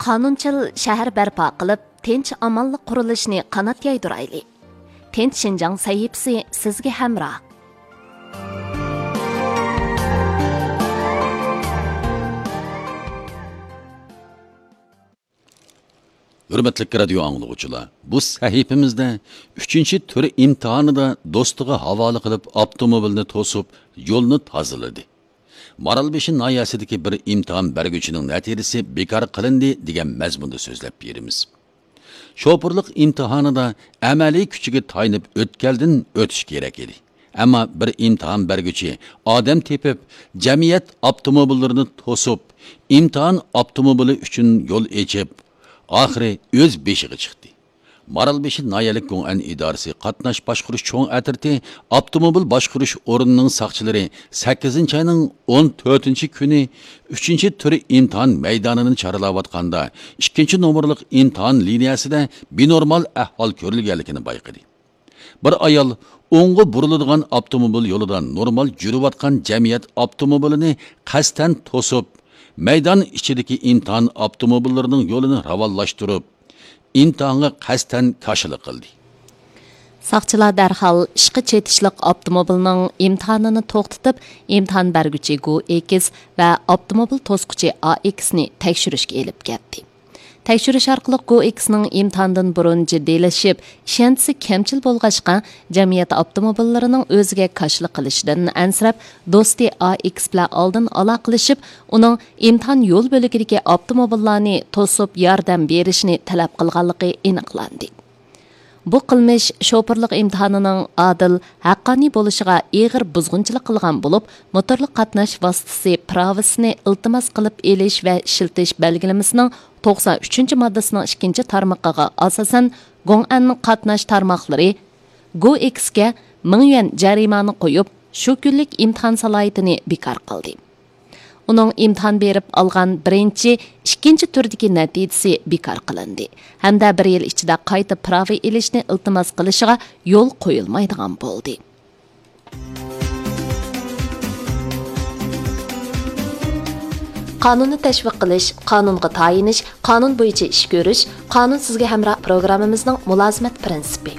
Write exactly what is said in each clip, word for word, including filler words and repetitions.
قانۇنچىل شەھەر بەرپا قىلىپ، تىنچ-ئامانلىق قۇرۇلۇشىنى قانات يايدۇرايلى. تىنچ شىنجاڭ سەھىپىسى سىزگە ھەمراھ. ھۆرمەتلىك رادىيو ئاڭلىغۇچىلار، بۇ سەھىپىمىزدە ئۈچىنچى تۈر ئىمتىھانىدا دوستىغا ھاۋالە قىلىپ ئاپتوموبىلنى توسۇپ، يولنى تازىلىدى. مارالبېشى ناھىيەسىدىكى بىر ئىمتىھان بەرگۈچىنىڭ نەتىجىسى بىكار قىلىندى دېگەن مەزمۇندا سۆزلەپ بېرىمىز. شوپۇرلۇق ئىمتىھانىدا ئەمەلىي كۈچىگە تايىنىپ ئۆتكەلدىن ئۆتۈش كېرەك ئىدى. ئەمما بىر ئىمتىھان بەرگۈچى ئادەم تېپىپ، جەمئىيەت ئاپتوموبىللىرىنى توسۇپ، ئىمتىھان ئاپتوموبىلى ئۈچۈن يول ئېچىپ، ئاخىرى ئۆز بېشىغا چىقتى. مارالبېشى ناھىيەلىك گوڭئەن ئىدارىسى قاتناش باشقۇرۇش چوڭ ئەترىتى ئاپتوموبىل باشقۇرۇش ئورنىنىڭ ساقچىلىرى سەككىزىنچى ئاينىڭ ئون تۆتىنچى كۈنى ئۈچىنچى تۈر ئىمتىھان مەيدانىنى چارلاۋاتقاندا، ئىككىنچى نومۇرلۇق ئىمتىھان لىنىيەسىدە بىنورمال ئەھۋال كۆرۈلگەنلىكىنى بايقىدى. بىر ئايال ئوڭغا بۇرۇلىدىغان ئاپتوموبىل يولىدا نورمال يۈرۈۋاتقان جەمئىيەت ئاپتوموبىلىنى قەستەن توسۇپ، مەيدان ئىچىدىكى ئىمتىھان ئاپتوموبىللىرىنىڭ يولىنى راۋانلاشتۇرۇپ، ئىمتىھانغا قەستەن كاشىلا قىلدى. ساقچىلار دەرھال ئىشقا چېتىشلىق ئاپتوموبىلنىڭ ئىمتىھانىنى توختىتىپ، ئىمتىھان بەرگۈچى گو ئېكس ۋە ئاپتوموبىل توسقۇچى ئا ئېكسنى تەكشۈرۈشكە ئېلىپ كەتتى. تەكشۈرۈش ئارقىلىق گو ئېكسنىڭ ئىمتىھاندىن بۇرۇن جىددىيلىشىپ، ئىشەنچىسى كەمچىل بولغاچقا، جەمئىيەت ئاپتوموبىللىرىنىڭ ئۆزىگە كاشىلا قىلىشىدىن ئەنسىرەپ، دوستى ئا ئېكس بىلەن ئالدىن ئالاقىلىشىپ، ئۇنىڭ ئىمتىھان يول بۆلىكىدىكى ئاپتوموبىللارنى توسۇپ ياردەم بېرىشىنى تەلەپ قىلغانلىقى ئېنىقلاندى. بۇ قىلمىش شوپۇرلۇق ئىمتىھانىنىڭ ئادىل، ھەققانىي بولۇشىغا ئېغىر بۇزغۇنچىلىق قىلغان بولۇپ، موتورلۇق قاتناش ۋاسىتىسى پىراۋىسىنى ئىلتىماس قىلىپ ئېلىش ۋە ئىشلىتىش بەلگىلىمىسىنىڭ توقسان ئۈچىنچى ماددىسىنىڭ ئىككىنچى تارمىقىغا ئاساسەن، گوڭئەن قاتناش تارماقلىرى گو ئېكسكە مىڭ يۈەن جەرىمانە قويۇپ، شۇ كۈنلۈك ئىمتىھان سالاھىيىتىنى بىكار قىلدى. ئۇنىڭ ئىمتىھان بېرىپ ئالغان بىرىنچى، ئىككىنچى تۈردىكى نەتىجىسى بىكار قىلىندى ھەمدە بىر يىل ئىچىدە قايتا پىراۋا ئېلىشنى ئىلتىماس قىلىشىغا يول قويۇلمايدىغان بولدى. قانۇننى تەشۋىق قىلىش، قانۇنغا تايىنىش، قانۇن بويىچە ئىش كۆرۈش، قانۇن سىزگە ھەمراھ پروگراممىمىزنىڭ مۇلازىمەت پىرىنسىپى.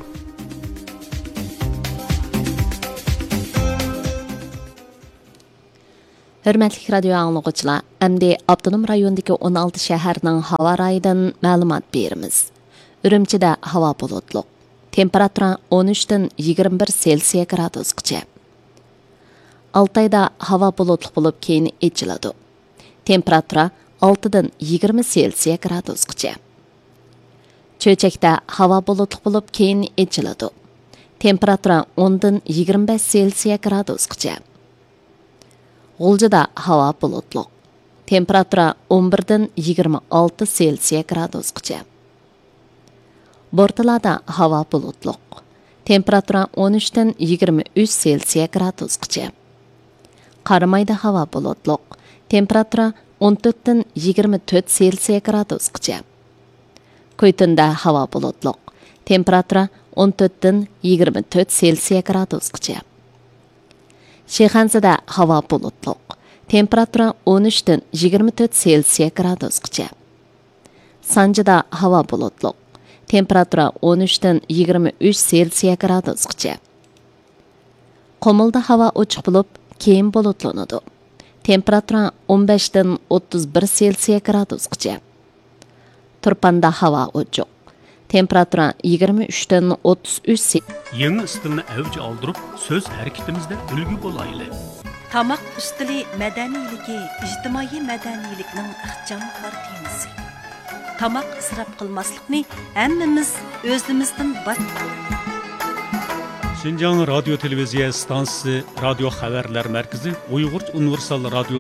ھۆرمەتلىك رادىيو ئاڭلىغۇچىلار، ئەمدى ئاپتونوم رايوندىكى ئون ئالتە شەھەرنىڭ ھاۋا رايىدىن مەلۇمات بېرىمىز. ئۈرۈمچىدە ھاۋا بۇلۇتلۇق. تېمپېراتۇرا ئون ئۈچتىن يىگىرمە بىر سېلسىيە گرادۇسقىچە. ئالتايدا ھاۋا بۇلۇتلۇق بولۇپ، كېيىن ئېچىلىدۇ. تېمپېراتۇرا ئالتىدىن يىگىرمە سېلسىيە گرادۇسقىچە. چۆچەكتە ھاۋا بۇلۇتلۇق بولۇپ، كېيىن ئېچىلىدۇ. تېمپېراتۇرا ئوندىن يىگىرمە بەش سېلسىيە گرادۇسقىچە. غۇلجىدا ھاۋا بۇلۇتلۇق. تېمپېراتۇرا ئون بىردىن يىگىرمە ئالتە سېلسىيە گرادۇسقىچە. بورتالادا ھاۋا بۇلۇتلۇق. تېمپېراتۇرا ئون ئۈچتىن يىگىرمە ئۈچ سېلسىيە گرادۇسقىچە. قارامايدا ھاۋا بۇلۇتلۇق. تېمپېراتۇرا ئون تۆتتىن يىگىرمە تۆت سېلسىيە گرادۇسقىچە. كۇيتۇندا ھاۋا بۇلۇتلۇق. تېمپېراتۇرا ئون تۆتتىن يىگىرمە تۆت سېلسىيە گرادۇسقىچە. شىخەنزىدە ھاۋا بۇلۇتلۇق. تېمپېراتۇرا ئون ئۈچتىن يىگىرمە تۆت سېلسىيە گرادۇسقىچە. سانجىدا ھاۋا بۇلۇتلۇق. تېمپېراتۇرا ئون ئۈچتىن يىگىرمە ئۈچ سېلسىيە گرادۇسقىچە. قۇمۇلدا ھاۋا ئوچۇق بولۇپ، كېيىن بۇلۇتلىنىدۇ. تېمپېراتۇرا ئون بەشتىن ئوتتۇز بىر سېلسىيە گرادۇسقىچە. تۇرپاندا ھاۋا ئوچۇق. تېمپېراتۇرا يىگىرمە ئۈچتىن ئوتتۇز ئۈچ سېلسىيە. يېڭى ئىستىلنى ئەۋج ئالدۇرۇپ، سۆز ھەرىكىتىمىزدە ئۈلگە بولايلى. تاماق ئۈستىلى مەدەنىيلىكى ئىجتىمائىي مەدەنىيلىكنىڭ ئىخچام كارتىنىسى. تاماق ئىسراپ قىلماسلىقنى ھەممىمىز ئۆزىمىزدىن باش. شىنجاڭ رادىيو تېلېۋىزىيە ئىستانسىسى رادىيو خەۋەرلەر مەركىزى ئۇيغۇرچە ئۇنىۋېرسال رادىيو.